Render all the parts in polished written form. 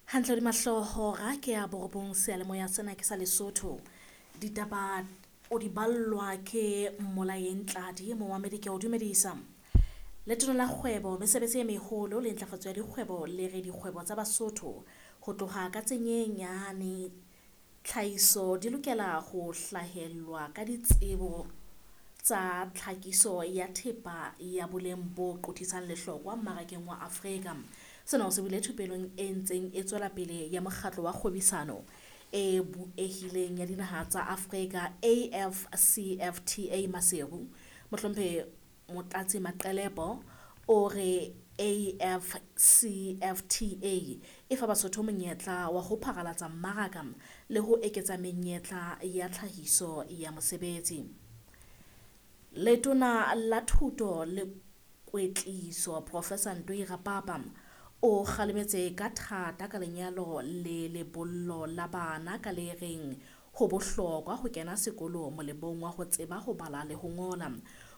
Hantle hodima hlooho hora ke ya borobong seyalemoya sena ke sa Lesotho. Ditaba o di ballwa ke Mmolaeng Tladi momamedi ke o dumedisa. Letona la kgwebo, mesebetsi e meholo le ntlafatso ya dikgwebo le re dikgwebo tsa Basotho ho tloha ka tse nyenyane tlhahiso di lokela ho hlahelwa ka ditsebo tsa tlhakiso ya thepa ya boleng bo qothisang lehlokwa mmarakeng wa Afrika. Sena o se buile thupelong e ntseng e tswela pele ya mokgatlo wa kgwebisano e buehileng ya dinaha tsa Afrika AfCFTA Maseru. Mohlomphehi Motlatsi Maqelepo o re AfCFTA e fa Basotho monyetla wa ho pharalatsa mmaraka le ho eketsa menyetla ya tlhahiso ya mosebetsi. Letona la Thuto le Kwetliso Professor Ntoi Rapapa o kgalemetse ka thata ka lenyalo le lebollo la bana ka le reng ho bohlokwa ho kena sekolo molemong wa ho tseba ho bala le ho ngola.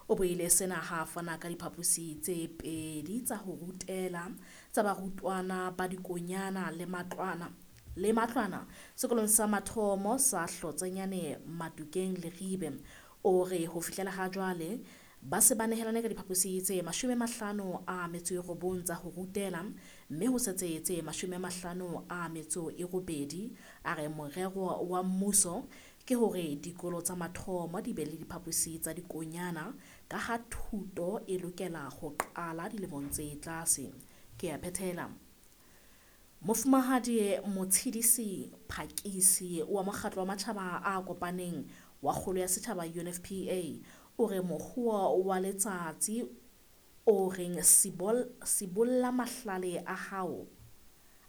O buile sena ha a fana ka diphaposi tse pedi tsa ho rutela tsa barutwana ba dikonyana le matlwana le matlwana sekolong sa mathomo sa Hlotsenyane Matukeng Leribe. O re ho fihlela ha jwale ba se ba nehelane ka diphaposi tse 59 tsa ho rutela mme ho setse tse 58. A re morero wa mmuso ke hore dikolo tsa mathomo di be le diphaposi tsa dikonyana ka ha thuto e lokela ho qala dilemong tse tlase. Ke a phethela. Mofumahadi Motshidisi Phakisi wa Mokgatlo wa Matjhaba a Kopaneng wa Kgolo ya Setjhaba UNFPA o re mohuo wa letsatsi o reng sibolla mahlale a hao